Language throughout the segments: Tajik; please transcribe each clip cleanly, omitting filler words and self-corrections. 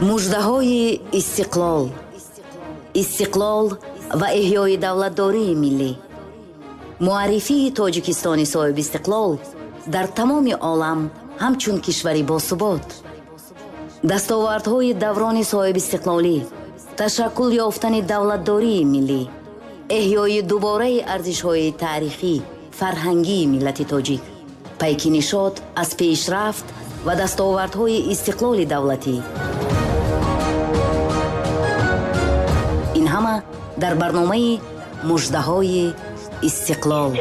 Муждаҳои истиқлол, истиқлол ва эҳёи давлатдории миллӣ, муаррифии Тоҷикистони соҳибистиқлол дар тамоми олам ҳамчун кишвари босубот, дастовардҳои даврони соҳибистиқлолӣ, ташаккул ёфтани давлатдории миллӣ, эҳёи дубораи арзишҳои таърихӣ, фарҳангии миллати тоҷик, пайки нишот аз пешрафт ва дастовардҳои истиқлоли давлатӣ. Ин ҳама дар барномаи Муждаҳои истиқлол.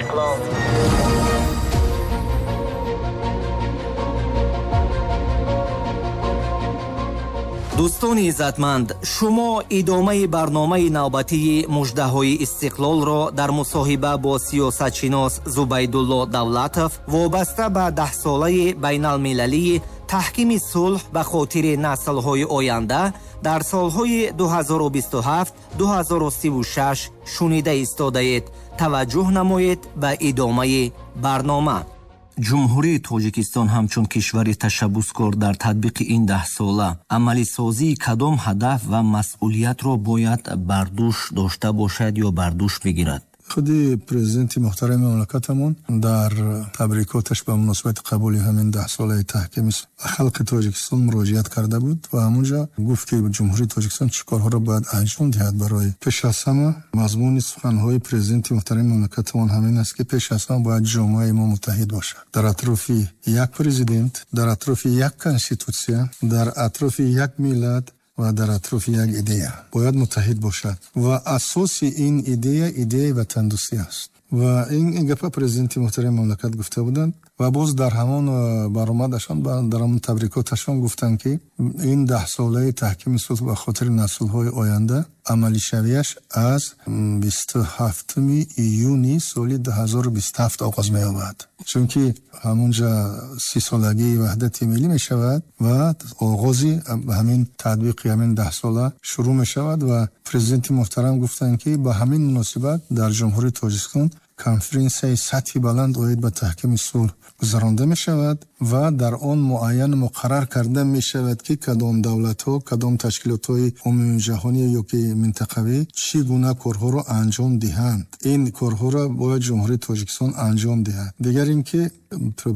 Дӯстони иззатманд, шумо идомаи барномаи навбатии Муждаҳои истиқлолро дар мусоҳиба бо сиёсатшинос Зубайдулло Давлатов вобаста ба даҳсолаи байналмилалии таҳкими сулҳ ба хотири наслҳои оянда дар солҳои 2027-2036 шунида истодаед. Таваҷҷӯҳ намоед ба идомаи барнома. Ҷумҳурии Тоҷикистон ҳамчун кишвари ташаббускор дар татбиқи ин даҳсола амалисозии кадом ҳадаф ва масъулиятро бояд бар дӯш дошта бошад ё бар дӯш бигирад? Худи президенти муҳтарами мамлакатамон дар табрикоташ ба муносибати қабули ҳамин даҳсолаи таҳкими халқи Тоҷикистон муроҷиат карда буд ва ҳамонҷо гуфт, ки Ҷумҳурии Тоҷикистон чӣ корҳоро бояд анҷом диҳад. Барои пеш аз ҳама мазмуни суханҳои президенти муҳтарами мамлакатамон ҳамин аст, ки пеш аз ҳама бояд ҷомеаи мо муттаҳид бошад. Дар атрофи як президент, дар атрофи як конститутсия, дар атрофи як миллат ва дар атрофи як идея бояд муттаҳид бошад ва асоси ин идея идеяи ватандӯстӣ аст. Ва ин гапа президенти муҳтарами мамлакат гуфта буданд ва боз дар ҳамон баромадашон, дар ҳамон табрикоташон гуфтанд, ки ин даҳсолаи таҳкими сулҳ ба хотири наслҳои оянда амалишавиаш аз 27 июни соли 2027 оғоз меёбад, чунки ҳамонҷа 30-солагии ваҳдати миллӣ мешавад ва оғози ҳамин татбиқи ҳамин даҳсола шурӯъ мешавад. Ва президенти муҳтарам гуфтанд, ки ба ҳамин муносибат дар Ҷумҳурии Тоҷикистон конференсияи сатҳи баланд оид ба таҳкими сулҳ гузаронда мешавад ва дар он муайян муқаррар карда мешавад, ки кадом давлатҳо, кадом ташкилотҳои умумиҷаҳонӣ ё ки минтақавӣ чӣ гуна корҳоро анҷом диҳанд. Ин корҳоро бояд Ҷумҳурии Тоҷикистон анҷом диҳад. Дигар ин ки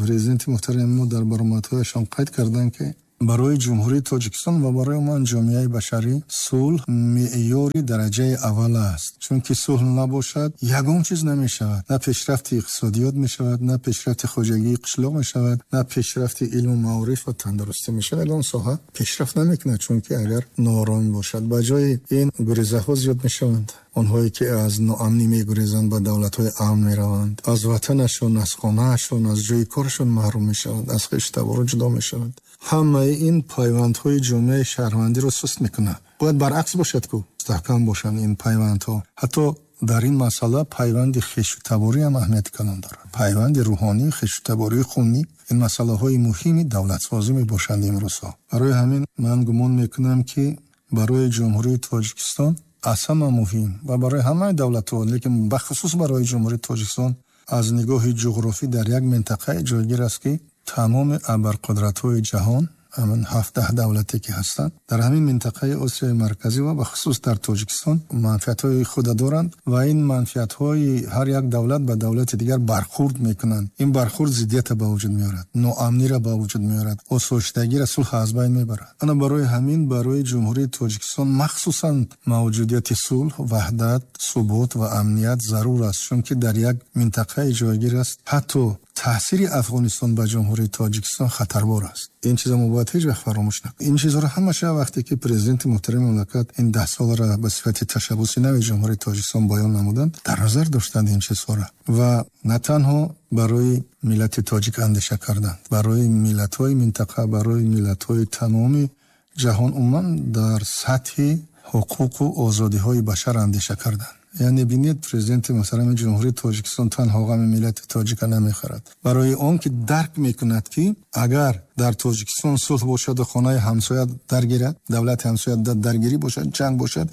президенти муҳтарами мо дар баромадҳояшон қайд карданд, ки барои Ҷумҳурии Тоҷикистон ва барои умуман ҷомеаи башарӣ сулҳ меъёри дараҷаи аввал аст, чунки сулҳ набошад ягон чиз намешавад, на пешрафти иқтисодиёт мешавад, на пешрафти хоҷагии қишлоқ мешавад, на пешрафти илму маориф ва тандурустӣ мешавад. Ягон соҳа пешрафт намекунад, чунки агар нооромӣ бошад, ба ҷои ин гурезаҳо зиёд мешаванд. Онҳое ки аз ноамнӣ мегурезанд ба давлатҳои амн мераванд, аз ватанашон, аз хонаашон, аз ҷои корашон маҳрум мешаванд, аз хештабору ҷудо мешаванд. Ҳамаи ин пайвандҳои ҷомеаи шаҳрвандиро суст мекунад. Бояд баръакс бошад, ку мустаҳкам бошанд ин пайвандҳо. Ҳатто дар ин масъала пайванди хешу таборӣ ҳам аҳамияти калон дорад. Пайванди рӯҳонӣ, хешу табории хунӣ, ин масъалаҳои муҳими давлатсозӣ мебошанд имрӯзҳо. Барои ҳамин ман гумон мекунам, ки барои Ҷумҳурии Тоҷикистон аз ҳама муҳим ва барои ҳамаи давлатҳо, лекин бахусус барои Ҷумҳурии Тоҷикистон аз нигоҳи ҷуғрофӣ дар як минтақае ҷойгир аст, ки тамоми абарқудратҳои ҷаҳон, ҳамин 17 давлате ки ҳастанд, дар ҳамин минтақаи Осиёи Марказӣ ва бахусус дар Тоҷикистон манфиатҳои худа доранд ва ин манфиатҳои ҳар як давлат ба давлати дигар бархурд мекунанд. Ин бархурд зиддиятро ба вуҷуд меорад, ноамниро ба вуҷуд меорад, осоиштагиро, сулҳ аз байн мебарад. Ана барои ҳамин барои Ҷумҳурии Тоҷикистон махсусан мавҷудияти сулҳ, ваҳдат, субот ва амният зарур аст, чунки дар як минтақаи ҷойгир аст. Ҳатто таъсири Афғонистон ба Ҷумҳурии Тоҷикистон хатарбор аст. Ин чиза мо бояд ҳеҷ вақт фаромӯш накунем. Ин чизҳоро ҳамаша вақте ки президенти муҳтарами мамлакат ин даҳсоларо ба сифати ташаббуси нави Ҷумҳурии Тоҷикистон баён намуданд, дар назар доштанд ин чизҳоро ва на танҳо барои миллати тоҷик андеша карданд, барои миллатҳои минтақа, барои миллатҳои тамоми ҷаҳон, умуман дар сатҳи ҳуқуқу озодиҳои башар андеша карданд. Яъне бинед, президенти муҳтарами Ҷумҳурии Тоҷикистон танҳо ғами миллати тоҷика намехӯрад, барои он ки дарк мекунад, ки агар дар Тоҷикистон сулҳ бошаду хонаи ҳамсоя даргирад, давлати ҳамсоя даргирӣ бошад, ҷанг бошад,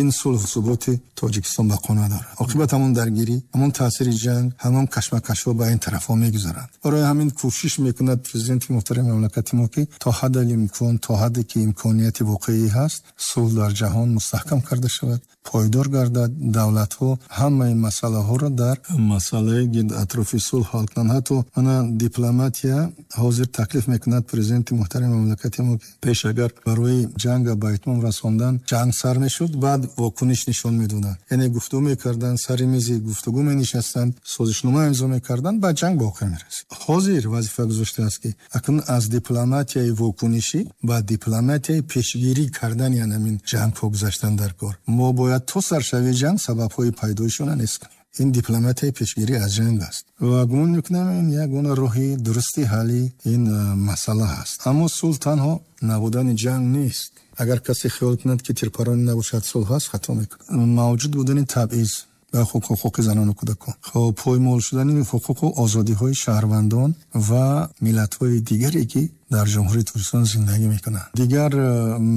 Ин сулҳу суботи Тоҷикистон бақо надорад. Оқибат ҳамон даргирӣ, ҳамон таъсири ҷанг, ҳамон кашмакашҳо ба ин тарафҳо мегузаранд. Барои ҳамин кӯшиш мекунад президенти муҳтарами мамлакати мо, ки то ҳадди имкон, то ҳадде ки имконияти воқеӣ ҳаст, сулҳ дар ҷаҳон мустаҳкам карда шавад, пойдор гардад. Давлатҳо ҳамаи масъалаҳоро дар масъалаи гирд атрофи сулҳ ҳал кунанд. Ҳатто ана дипломатия ҳозир таклиф мекунад президенти муҳтарами мамлакати мо, ки пеш агар барои ҷанга ба итмом расондан ҷанг сар мешуд, баъд вокуниш нишон медоданд, яъне гуфтугӯ мекарданд, сари мизи гуфтугӯ менишастанд, созишнома имзо мекарданд, баъд ҷанг ба охир мерасид. Ҳозир вазифа гузоштааст, ки акнун аз дипломатияи вокунишӣ ба дипломатияи пешгирӣ кардани ҳамин ҷангҳо гузаштан дар кор. Мо бояд то саршавии ҷанг сабабҳои пайдоишона нест кунем. Ин дипломатияи пешгирӣ аз ҷанг аст ва гумон мекунам, ин як гуна роҳи дурусти ҳалли ин масъала ҳаст. Аммо сулҳ танҳо набудани ҷанг нест. Агар касе хиёл кунад, ки тирпаронӣ набошад, сулҳ ҳаст, хато мекунад. Мавҷуд будани табъиз ба ҳуқуқи занону кӯдакон, хоб, поймол шудани ҳуқуқу озодиҳои шаҳрвандон ва миллатҳои дигаре, ки дар Ҷумҳурии Тоҷикистон зиндагӣ мекунанд, дигар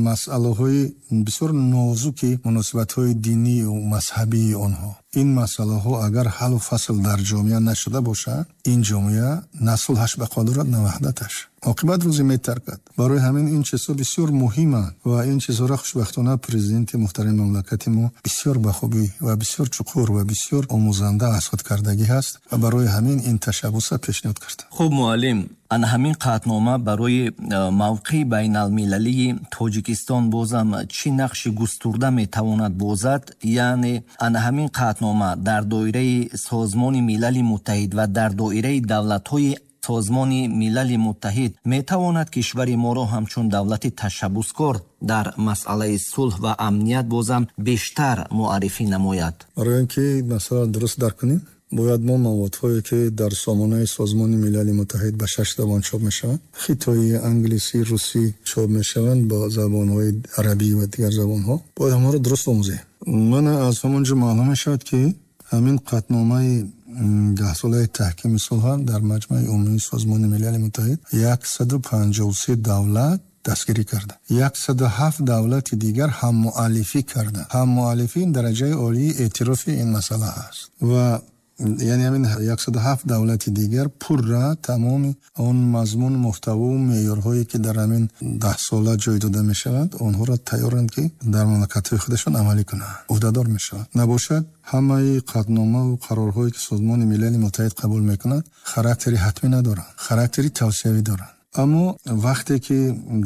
масъалаҳои бисёр нозуки муносибатҳои динию мазҳабии онҳо, ин масъалаҳо агар ҳаллу фасл дар ҷомеа нашуда бошад, ин ҷомеа на сулҳаш бақо дорад, на ваҳдаташ. Оқибат рӯзе метаркад. Барои ҳамин ин чизҳо бисёр муҳиманд ва ин чизҳоро хушбахтона президенти муҳтарами мамлакати мо бисёр ба хубӣ ва бисёр чуқур ва бисёр омӯзанда аз худ кардагӣ ҳаст ва барои ҳамин ин ташаббуса пешниҳод кард. Хуб, муаллим, ана ҳамин қатънома барои мавқеи байналмилалии Тоҷикистон бозам чӣ нақши густурда метавонад бозад? Яъне ана ҳамин қатънома дар доираи Созмони Милали Муттаҳид ва дар доираи давлатҳои Созмони Милали Муттаҳид метавонад кишвари моро ҳамчун давлати ташаббускор дар масъалаи сулҳ ва амният бозам бештар муаррифӣ намояд? Барои он ки масъаларо дуруст дарк кунем, бояд мо маводҳое, ки дар сомонаи Созмони Милали Муттаҳид ба шаш забон чоп мешаванд, хитоӣ, англисӣ, русӣ чоп мешаванд, бо забонҳои арабӣ ва дигар забонҳо, бояд ҳамаро дуруст омӯзем. Мана аз ҳамон ҷо маълум мешавад, ки ҳамин қатъномаи 10-солаи таҳкими сулҳ дар Маҷмаи Умумии Созмони Милали Муттаҳид 153 давлат дастгирӣ карда, 107 давлати дигар ҳаммуаллифӣ карда. Ҳаммуаллифӣ ин дараҷаи олии эътирофи ин масъала ҳаст ва яъне ҳамин 107 давлати дигар пурра тамоми он мазмун, муҳтаву меъёрҳое, ки дар ҳамин 10 сола ҷой дода мешаванд, онҳоро тайёранд, ки дар мамлакатҳои худашон амалӣ кунанд, ӯҳдадор мешаванд. Набошад, ҳамаи қатъномаву қарорҳое, ки Созмони Милали Муттаҳид қабул мекунад, характери ҳатмӣ надоранд, характери тавсиявӣ доранд. Аммо вақте ки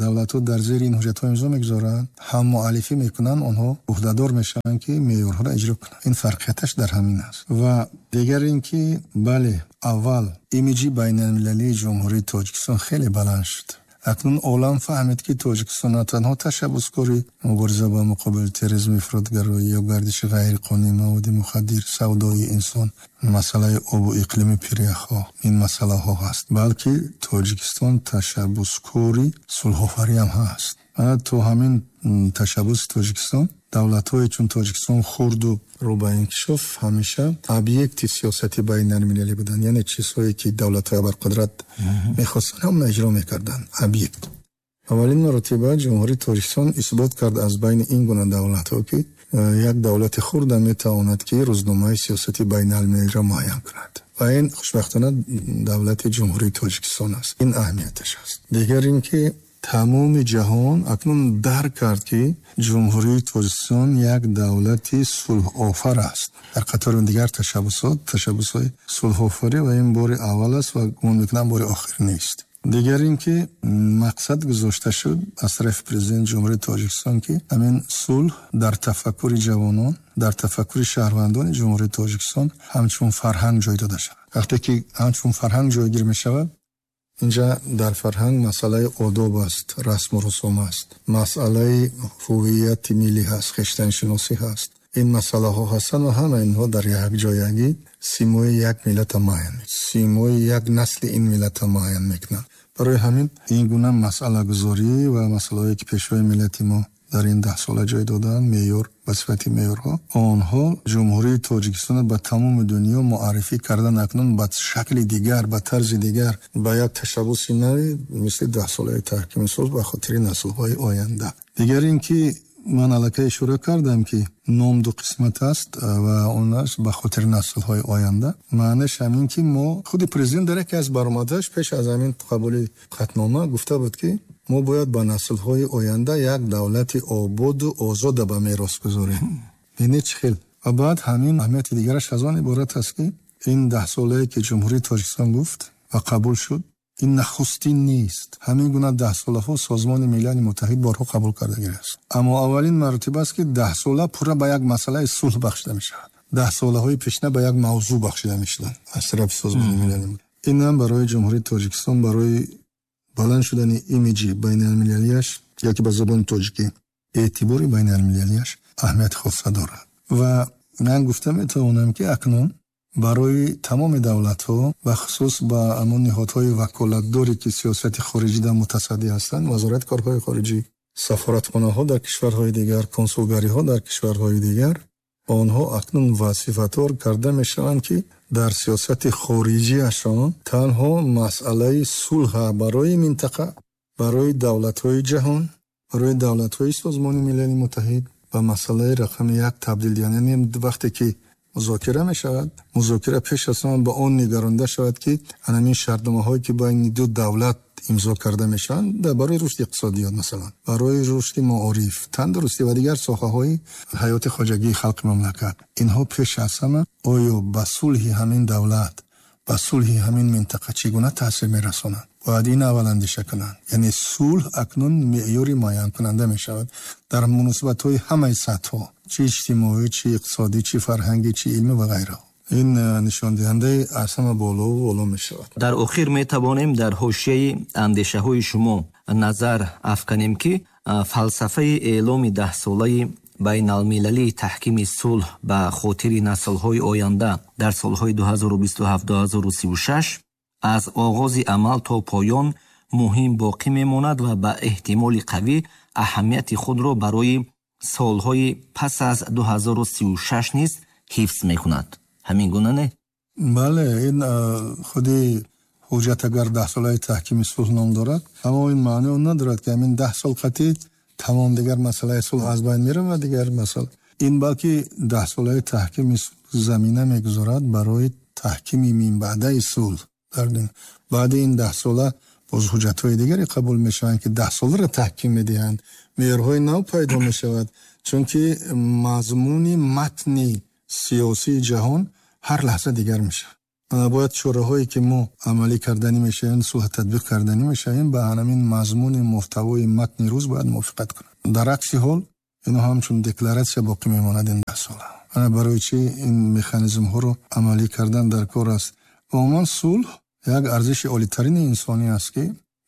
давлатҳо дар зери ин ҳуҷҷатҳо имзо мегузоранд, ҳаммуаллифӣ мекунанд, онҳо ӯҳдадор мешаванд, ки меъёрҳоро иҷро кунанд. Ин фарқияташ дар ҳамин аст. Ва дигар ин ки, бале, аввал имиҷи байналмилалии Ҷумҳурии Тоҷикистон хеле баланд шуд. Акнун олам фаҳмид, ки Тоҷикистон на танҳо ташаббускори мубориза ба муқобили терроризм, ифротгароӣ ё гардиши ғайриқонунии маводи мухаддир, савдои инсон, масъалаи обу иқлими пиряхҳо, ин масъалаҳо ҳаст, балки Тоҷикистон ташаббускори сулҳофарӣ ҳам ҳаст. То ҳамин ташаббуси Тоҷикистон давлатҳое чун Тоҷикистон, хурду рӯ ба инкишоф, ҳамеша объекти сиёсати байналмилалӣ буданд. Яъне чизҳое, ки давлатҳои абарқудрат мехостанд, ҳамона иҷро мекарданд, объект. Аввалин маротиба Ҷумҳурии Тоҷикистон исбот кард аз байни ин гуна давлатҳо, ки як давлати хурда метавонад, ки рӯзномаи сиёсати байналмилалиро муайян кунад, ва ин хушбахтона давлати Ҷумҳурии Тоҷикистон аст. Ин аҳамияташ аст. Дигар ин ки тамоми ҷаҳон акнун дарк кард, ки Ҷумҳурии Тоҷикистон як давлати сулҳофар аст дар қатори дигар ташаббусот, ташаббусҳои сулҳофарӣ, ва ин бори аввал аст ва гумон мекунам, бори охир нест. Дигар ин ки мақсад гузошта шуд аз тарафи президенти Ҷумҳурии Тоҷикистон, ки ҳамин сулҳ дар тафаккури ҷавонон, дар тафаккури шаҳрвандони Ҷумҳурии Тоҷикистон ҳамчун фарҳанг ҷой дода шавад. Вақте ки ҳамчун фарҳанг ҷойгир мешавад, инҷа дар фарҳанг масъалаи одоб аст, расму русум аст, масъалаи ҳувияти миллӣ ҳаст, хештаншиносӣ ҳаст. Ин масъалаҳо ҳастанд ва ҳама инҳо дар якҷоягӣ симои як миллата муайян, симои як насли ин миллата муайян мекунанд. Барои ҳамин ин гуна масъалагузорӣ ва масъалаҳое, ки пешвои миллати мо дар ин 10 сола ҷой додаанд, меъёр ба сифати меъёрҳо, онҳо Ҷумҳурии Тоҷикистонро ба тамоми дунё муаррифӣ кардан, акнун ба шакли дигар, ба тарзи дигар, ба як ташаббуси нави мисли 10-солаи таҳкими сулҳ ба хотири наслҳои оянда. Дигар ин ки Ман аллакай ишора кардам, ки ном ду қисмат аст ва он аст ба хотири наслҳои оянда. Маънаш ҳамин, ки мо худи президент дар яке аз баромадаш пеш аз ҳамин қабули қатънома гуфта буд, ки мо бояд ба наслҳои оянда як давлати ободу озода ба мерос гузорем. Бинед, чӣ хел. Ва баъд ҳамин аҳамияти дигараш аз он иборат аст, ки ин даҳсолае, ки Ҷумҳурии Тоҷикистон гуфт ва қабул шуд, ин нахустин нест. Ҳамин гуна даҳсолаҳо Созмони Милали Муттаҳид борҳо қабул кардагиаст, аммо аввалин маротиба аст, ки даҳсола пурра ба як масъалаи сулҳ бахшида мешавад. Даҳсолаҳои пешина ба як мавзӯъ бахшида мешуданд аз тарафи Созмони Милали Муттаҳид. Инам барои Ҷумҳурии Тоҷикистон, барои баланд шудани имиҷи байналмилалияш ёки ба забони тоҷикӣ эътибори байналмилалияш аҳамияти хоса дорад. Ва ман гуфта метавонам, ки акнун барои тамоми давлатҳо, бахусус ба ҳамон ниҳодҳои ваколатдоре, ки сиёсати хориҷида мутасаддӣ ҳастанд, Вазорати корҳои хориҷӣ, сафоратхонаҳо дар кишварҳои дигар, консулгариҳо дар кишварҳои дигар, онҳо акнун вазифадор карда мешаванд, ки дар сиёсати хориҷиашон танҳо масъалаи сулҳа барои минтақа, барои давлатҳои ҷаҳон, барои давлатҳои Созмони Милали Муттаҳид ба масъалаи рақами як табдил диҳанд. Яъне вақте ки музокира мешавад, музокира пеш аз ҳама ба он нигаронда шавад, ки ҳамин шартномаҳое, ки байни ду давлат имзо карда мешаванд, барои рушди иқтисодиёт, масалан, барои рушди маориф, тандурустӣ ва дигар соҳаҳои ҳаёти хоҷагии халқи мамлакат, инҳо пеш аз ҳама оё ба сулҳи ҳамин давлат, ба сулҳи ҳамин минтақа чӣ гуна таъсир мерасонанд, бояд ин аввал андеша кунанд. Яъне сулҳ акнун меъёри муайянкунанда мешавад дар муносибатҳои ҳамаи сатҳҳо, чӣ иҷтимоӣ, чӣ иқтисодӣ, чӣ фарҳангӣ, чӣ илмӣ ва ғайраҳо. Ин нишондиҳандаи аз ҳама болову боло мешавад. Дар охир метавонем дар ҳошияи андешаҳои шумо назар афканем, ки фалсафаи эъломи даҳсолаи байналмилалии таҳкими сулҳ ба хотири наслҳои оянда дар солҳои 2027-2036 аз оғози амал то поён муҳим боқӣ мемонад ва ба эҳтимоли қавӣ аҳамияти худро барои солҳои пас аз 2036 низ ҳифз мекунад. Ҳамин гуна, не? Бале, ин худи ҳуҷҷат агар даҳсолаи таҳкими сулҳ ном дорад, аммо ин маъни он надорад, ки ҳамин 10 сол қатъӣ тамом, дигар масъалаи сулҳ аз байн меравад, дигар масъала ин, балки даҳсолаи таҳкими сулҳ замина мегузорад барои таҳкими минбаъдаи сулҳ. Баъди ин даҳсола боз ҳуҷҷатҳои дигаре қабул мешаванд, ки даҳсоларо таҳким медиҳанд, меъёрҳои нав пайдо мешавад, чунки мазмуни матни сиёсии ҷаҳон ҳар лаҳза дигар мешавад. Бояд чораҳое, ки мо амалӣ карданӣ мешавем, сулҳ татбиқ карданӣ мешавем, ба ҳамин мазмуни муҳтавои матни рӯз бояд мувофиқат кунад. Дар акси ҳол ино ҳамчун декларатсия боқӣ мемонад ин даҳсола. Ана барои чӣ ин механизмҳоро амалӣ кардан дар кор аст. Ва умуман сулҳ як арзиши олитарини инсонӣ аст, ки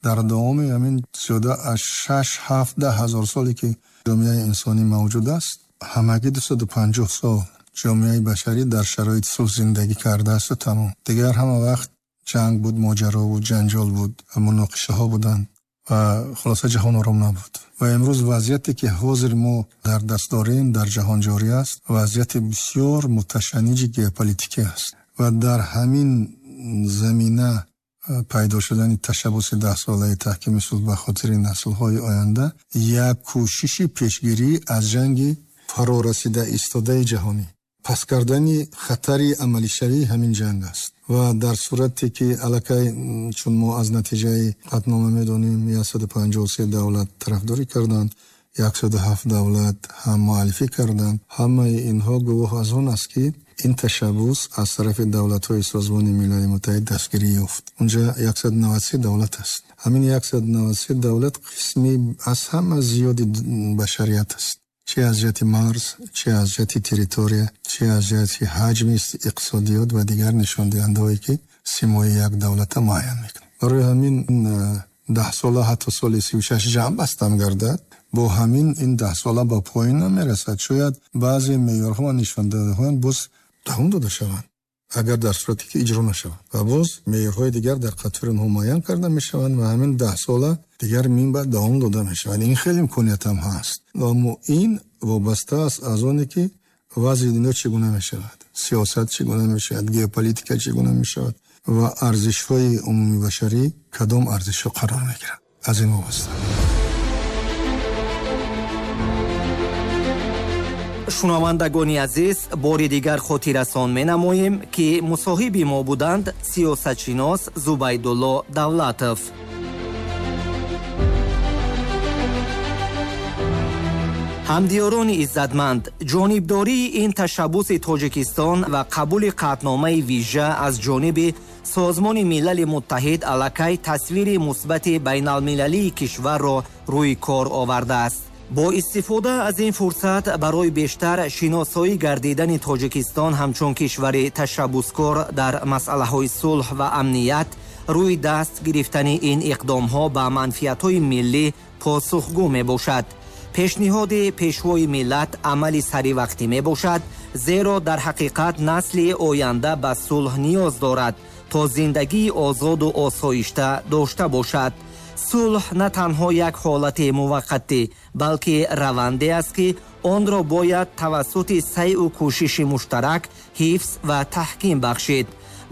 дар давоми ҳамин зиёда аз 6-7-10 ҳазор соле, ки ҷомеаи инсонӣ мавҷуд аст, ҳамагӣ 250 сол ҷомеаи башарӣ дар шароити сулҳ зиндагӣ кардааст ва тамом. Дигар ҳама вақт ҷанг буд, моҷаро буд, ҷанҷол буд, муноқишаҳо буданд ва хулоса ҷаҳон ором набуд. Ва имрӯз вазъияте, ки ҳозир мо дар даст дорем, дар ҷаҳон ҷорӣ аст, вазъияти бисёр муташанниҷи геополитикӣ аст. Ва дар ҳамин замина пайдо шудани ташаббуси даҳсолаи таҳкими сулҳ ба хотири наслҳои оянда як кӯшиши пешгирӣ аз ҷанги фарорасида истодаи ҷаҳонӣ, пас кардани хатари амалишавии ҳамин ҷанг аст. Ва дар сурате ки аллакай, чун мо аз натиҷаи қатънома медонем, 153 давлат тарафдорӣ карданд, 107 давлат ҳам муаллифӣ карданд, ҳамаи инҳо гувоҳ аз он аст, ки ин ташаббус аз тарафи давлатҳои Созмони Милали Муттаҳид дастгирӣ ёфт. Унҷа 193 давлат аст. Ҳамин 193 давлат қисми аз ҳама зиёди башарият аст, чӣ аз ҷиҳати марз, чӣ аз ҷиҳати территория, чӣ аз ҷиҳати ҳаҷми иқтисодиёт ва дигар нишондиҳандаҳое, ки симои як давлата муайян мекунад. Барои ҳамин даҳсола ҳатто соли 36 ҷамъ бастам гардад, бо ҳамин ин даҳсола ба поён намерасад. Шояд баъзе меъёрҳо ва нишондиҳандаҳо боз давом дода шаванд, агар дар сурате ки иҷро нашаванд, ва боз меъёрҳои дигар дар қатори онҳо муайян карда мешаванд ва ҳамин даҳсола дигар минбаъд давом дода мешавад. Ин хеле имконият ҳам ҳаст. Аммо ин вобаста аст аз оне, ки вазъи дунё чӣ гуна мешавад, сиёсат чӣ гуна мешавад, геополитика чӣ гуна мешавад ва арзишҳои умумибашарӣ кадом арзишҳо қарор мегиранд, аз ин вобаста. Шунавандагони азиз, бори дигар хотиррасон менамоем, ки мусоҳиби мо буданд сиёсатшинос Зубайдулло Давлатов. Ҳамдиёрони иззатманд, ҷонибдории ин ташаббуси Тоҷикистон ва қабули қатъномаи вижа аз ҷониби Созмони Милали Муттаҳид аллакай тасвири мусбати байналмилалии кишварро рӯи кор овардааст. Бо истифода аз ин фурсат барои бештар шиносоӣ гардидани Тоҷикистон ҳамчун кишвари ташаббускор дар масъалаҳои сулҳ ва амният, рӯи даст гирифтани ин иқдомҳо ба манфиатҳои миллӣ посухгӯ мебошад. Пешниҳоди Пешвои миллат амали саривақтӣ мебошад, зеро дар ҳақиқат насли оянда ба сулҳ ниёз дорад, то зиндагии озоду осоишта дошта бошад. Сулҳ на танҳо як ҳолати муваққатӣ, балки раванде аст, ки онро бояд тавассути сайъу кӯшиши муштарак ҳифз ва таҳким бахшид.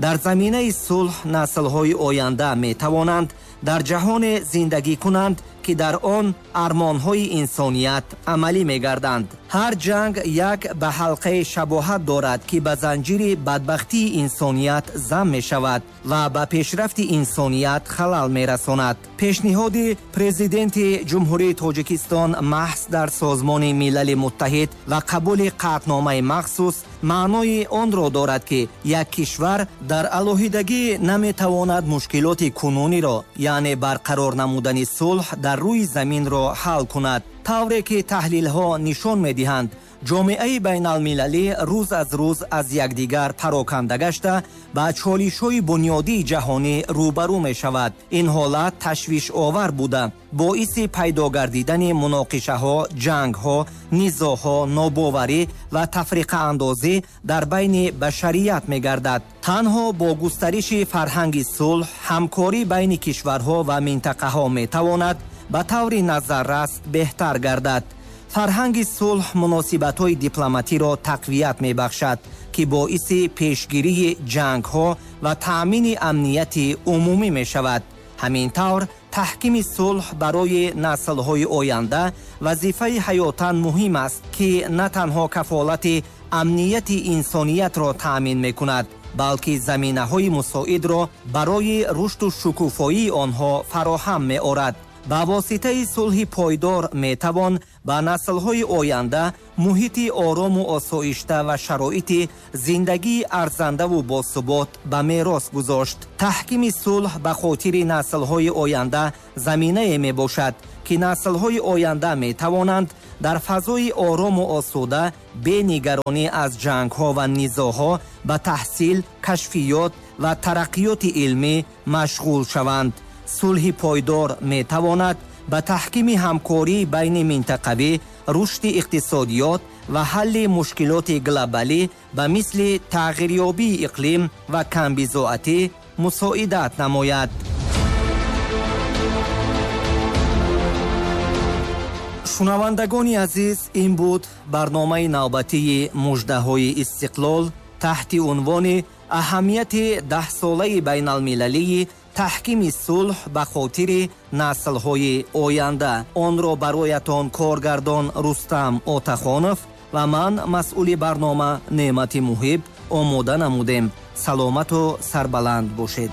Дар заминаи сулҳ наслҳои оянда метавонанд дар ҷаҳоне зиндагӣ кунанд, ки дар он армонҳои инсоният амалӣ мегарданд. Ҳар ҷанг як ба ҳалқаи шабоҳат дорад, ки ба занҷири бадбахтии инсоният зам мешавад ва ба пешрафти инсоният халал мерасонад. Пешниҳоди Президенти Ҷумҳурии Тоҷикистон маҳз дар Созмони Милали Муттаҳид ва қабули қатъномаи махсус маънои онро дорад, ки як кишвар дар алоҳидагӣ наметавонад мушкилоти кунуниро, яъне барқарор намудани сулҳ дар рӯи заминро ҳал кунад. Тавре ки таҳлилҳо нишон медиҳанд, ҷомеаи байналмилалӣ рӯз аз рӯз аз якдигар пароканда гашта ба чолишҳои бунёдии ҷаҳонӣ рӯбарӯ мешавад. Ин ҳолат ташвишовар буда, боиси пайдо гардидани муноқишаҳо, ҷангҳо, низоъҳо, нобоварӣ ва тафриқаандозӣ дар байни башарият мегардад. Танҳо бо густариши фарҳанги сулҳ, ҳамкорӣ байни кишварҳо ва минтақаҳо метавонад ба таври назаррас беҳтар гардад. Фарҳанги сулҳ муносибатҳои дипломатиро тақвият мебахшад, ки боиси пешгирии ҷангҳо ва таъмини амнияти умумӣ мешавад. Ҳамин тавр, таҳкими сулҳ барои наслҳои оянда вазифаи ҳаётан муҳим аст, ки на танҳо кафолати амнияти инсониятро таъмин мекунад, балки заминаҳои мусоидро барои рушду шукуфоии онҳо фароҳам меорад. Ба воситаи сулҳи пойдор метавон ба наслҳои оянда муҳити орому осоишта ва шароити зиндагии арзандаву босубот ба мерос гузошт. Таҳкими сулҳ ба хотири наслҳои оянда заминае мебошад, ки наслҳои оянда метавонанд дар фазои орому осуда бе нигаронӣ аз ҷангҳо ва низоъҳо ба таҳсил, кашфиёт ва тараққиёти илмӣ машғул шаванд. Сулҳи пойдор метавонад ба таҳкими ҳамкории байни минтақавӣ, рушди иқтисодиёт ва ҳалли мушкилоти глобалӣ ба мисли тағйирёбии иқлим ва камбизоатӣ мусоидат намояд. Шунавандагони азиз, ин буд барномаи навбатии муждаҳои истиқлол таҳти унвони аҳамияти даҳсолаи байналмилалии таҳкими сулҳ ба хотири наслҳои оянда. Онро бароятон коргардон Рустам Отахонов ва ман, масъули барнома Неъмати Муҳиб, омода намудем. Саломату сарбаланд бошед.